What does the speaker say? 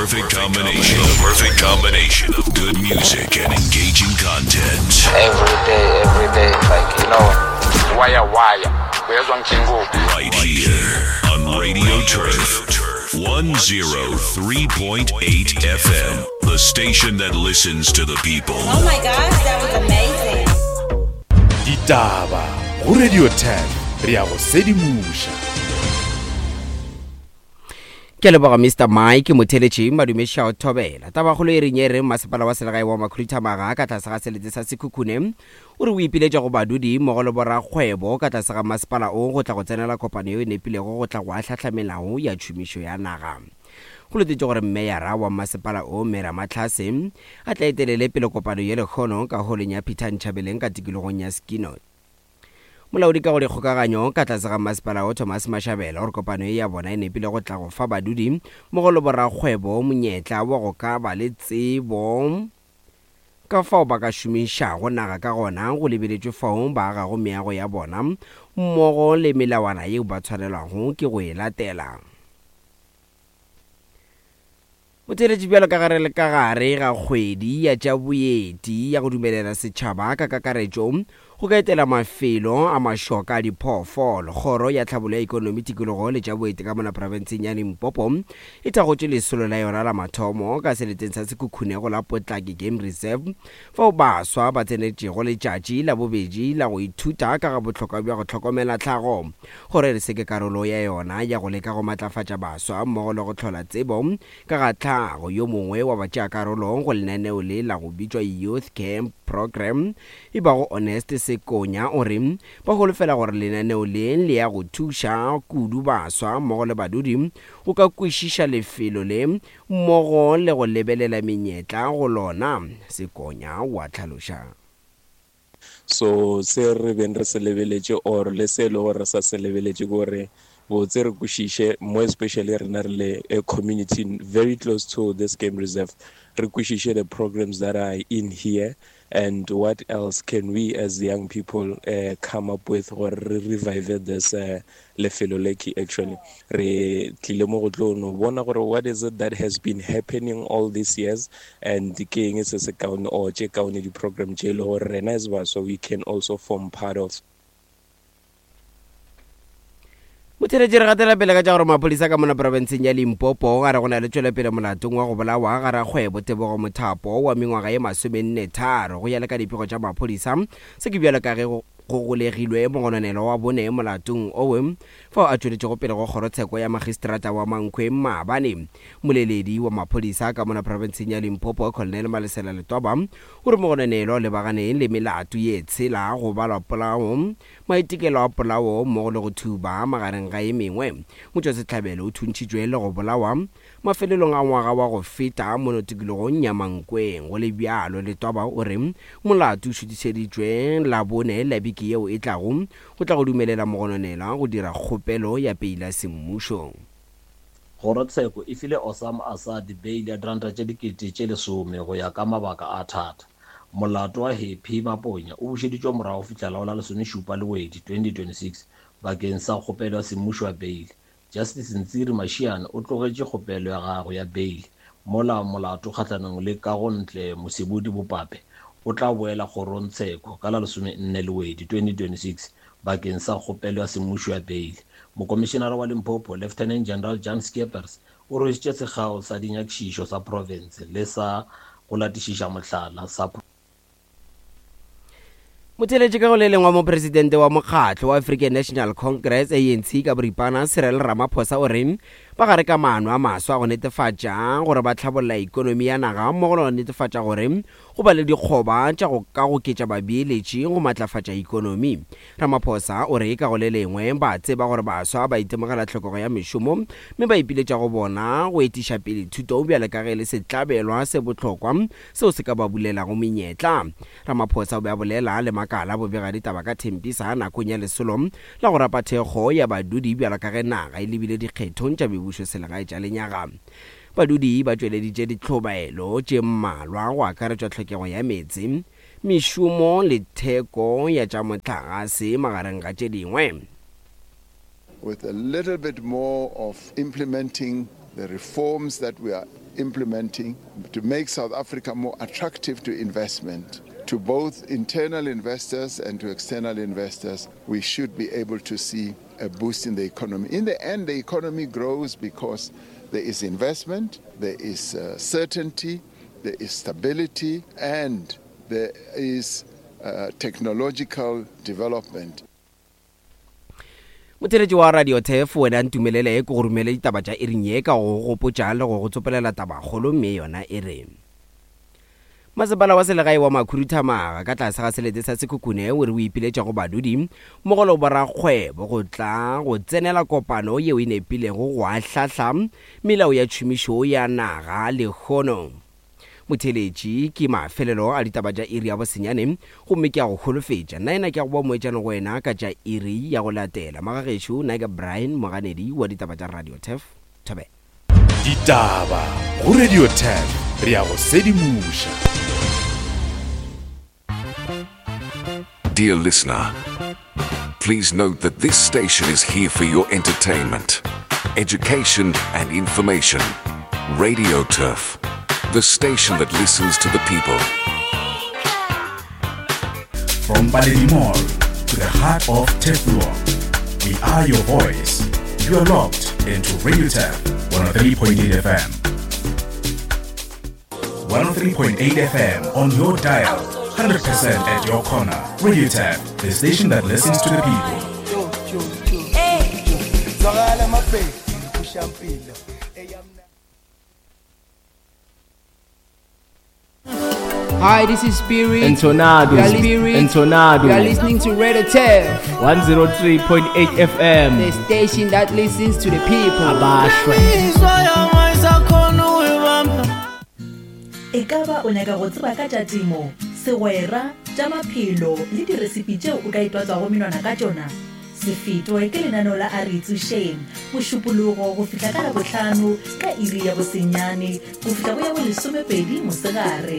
perfect combination. The perfect combination of good music and engaging content. Every day, every day, like you know. Wire wire. Uyezwa ngijingo. Right here on Radio Turf 103.8 FM, the station that listens to the people. Oh my gosh, that was amazing. Ditaba go Radio 10 re ya go sedimoša. Ke a leboga Mister Mike Motheletši Madume Shao Thobela. Tabakgolo e reng e re masepala wa selegae wa Makhuduthamaga ka tlase ga selete sa Sekhukhune o re o ipiletša go badudi mmogo le borakgwebo ka tlase ga masepala o go tla go tsenela kopano yeo e nepilego go tla go ahlahla melao ya tšhomišo ya naga. Go letetšwe gore Meyara wa masepala o Mme Ramatlhase a tla etelele pele kopano ye lekgono ka holong ya Peter Nchabeleng ka tikologong ya Skinot. Molaodi ka go dikgokaganyo ka tlase ga masepala wo Thomas Mashabela o re kopano ye ya bona e nepile go tla go fa badudi mmogo le borakgwebo monyetla wa go ka ba le tsebo ka fao ba ka šomišago naga ka gona go lebeletšwe fao ba agago meago ya bona mmogo le melawana yeo ba tshwanelwago ke go e latela. O theeletše bjalo ka ge re le ka gare ga kgwedi ya tša boeti ya go dumelela setšhaba ka kakaretšo go ka etela mafelo a mašoka a diphoofolo. Kgoro ya Tlhabollo ya Ekonomi, Tikologo le tša Boeti ka mona profenseng ya Limpopo e thakgotše lesolo la yona la mathomo ka seleteng sa Sekhukhune go la Potlake Game Reserve fao baswa ba tsenetšego letšatši la bobedi la go ithuta ka ga bohlokwa bja go hlokomela tlhago. Kgoro e re se ke karolo ya yona ya go leka go matlafatša baswa mmogo le go hlola tsebo ka ga tlhago. Yo mongwe wa batšeakarolo go lenaneo le la go bitšwa Youth Camp Programme e bago Honest Sekonya o re ba holofela gore lenaneo le le ya go thuša kudu baswa mmogo le badudi go ka kwešiša lefelo le mmogo le go lebelela menyetla go lona, Sekonya wa hlaloša. So se re beng re se lebeletše or le se e le gore re sa se lebeletše ke gore botse re kwešiše, more especially rena re le a community very close to this game reserve, re kwešiše the programs that are in here and what else can we as young people come up with gore re revive this lefelo le ke actually re tlile mo go tlo no bona gore what is it that has been happening all these years and ke eng se se kaone or tše kaone di-program tše e le gore rena as baswa we can also form part of. Motheeletši re gatela pele ka tša gore maphodisa ka mona profenseng ya Limpopo a re go na le tšwelopele molatong wa go bolawa ga rakgwebo Tebogo Mothapo wa mengwaga ye masomennetharo go ya le ka dipego tša maphodisa. Se ke bjalo ka ge go Go golegilwe mogononelwa wa bone molatong owe fao a tšweletšego pele go kgorotsheko ya magistrata wa Mankweng maabane. Moleledi wa maphodisa ka mona profenseng ya Limpopo, Colonel Malesela Letwaba, o re mogononelwa o lebagane le melato ye tshela, go balwa polao, maitekelo a polao mmogo le go thuba, magareng ga ye mengwe. Motšwasehlabelo o thuntšhitšwe le go bolawa Mafelelong a ngwaga wa go feta mono tikologong ya Mankweng. Go le bjalo, Letwaba o re molato o šutišeditšwe Labone la beke yeo e tlago go tla go dumelela mogononelwa go dira kgopelo ya peila semmušo. Kgorotsheko e file Osama Assad beile ya diranta tše 10,000 go ya ka mabaka a thata. Molato wa Happy Maponya o bušeditšwe morago go fihla la go la lesomešupa Lewedi 2026 bakeng sa kgopelo ya semmušo ya beile. Justice Ntsiri Mashiane o tlogetše kgopelo ya gagwe ya beile mola molato kgahlanong le Kagontle Mosebudi Bopape o tla boela kgorongtsheko ka la lesomenne Lewedi 2026 bakeng sa kgopelo ya semmušo ya beile. Mokomišenara wa Limpopo, Lieutenant General Jan Scheepers o rwešitše sekgao sa dinyakišišo sa profense le sa go latišiša mohlala sa Motheeletši ka go le lengwe wa mopresidente wa mokgatlo wa African National Congress, ANC, ka boripana, Cyril Ramaphosa o re ba gare ka maano a maswa a go netefatša gore ba hlabolla ekonomi ya naga mmogo le go netefatša gore go ba le dikgoba tša go ka goketša babeeletši go matlafatša ekonomi. Ramaphosa o re ka go le lengwe ba tseba gore baswa ba itemogela tlhokego ya mešomo mme ba ipiletša go bona go etiša pele thuto bjale ka ge e le setlabelwa se bohlokwa seo se ka ba bulelago menyetla. Ramaphosa o be a bolela le makala a bobegaditaba ka Tembisa nakong ya lesolo la go rapa thekgo ya badudi bjalo ka ge naga e lebile dikgethong tša mebušoselegae tša lenyaga. Badudi ba tšweleditše ditlhobaelo tše mmalwa go akaretšwa tlhokego ya meetse, mešomo le theko ya tša mohlagase magareng ga tše dingwe. With a little bit more of implementing the reforms that we are. implementing to make South Africa more attractive to investment, to both internal investors and to external investors, we should be able to see a boost in the economy. In the end, the economy grows because there is investment, there is uh, certainty, there is stability, and there is uh, technological development. Motheeletši wa Radio Turf, wena ntumelele ke go romele ditaba tša iring ye ka go go gopotša le go go tsopolela tabakgolo mme yona e re. Masepala wa selegae wa Makhuduthamaga ka tlase ga selete sa Sekhukhune o re o ipiletša go badudi mmogo le go borakgwebo go tla go tsenela kopano yeo e nepilego go ahlahla melao ya tšhomišo ya naga lehono. Motheeletši, ke mafelelo a ditaba tša iri ya bosenyane, gomme ke a go holofetša, nnaena ke a go boa moetšane go wena ka tša iri ya go latela. Magagešo, nna ke Brian Moganedi wa ditaba tša Radio Turf. Thobela. Ditaba go Radio Turf, re a go sedimoša. Dear listener, please note that this station is here for your entertainment, education, and information. Radio Turf, the station that listens to the people. From Paledi Mall to the heart of Teflon, we are your voice. You are locked into Radio Turf 103.8 FM. 103.8 FM on your dial, 100% at your corner. Radio Tap, the station that listens to the people. Hi, this is Spirit. Entonado. You are Spirit. Entonado. You are listening to Radio Turf, 103.8 FM. the station that listens to the people. Abashwe. E ka ba o nyaka go tseba ka tša temo, segwera, tša maphelo le diresipi tšeo o ka itwatswago menwana ka tšona? Se fetwe ke lenaneo la A Re Itsošeng, Mošupologo go fihla ka Labohlano ka iri ya bosenyane go fihla go ya bolesomepedi mosegare.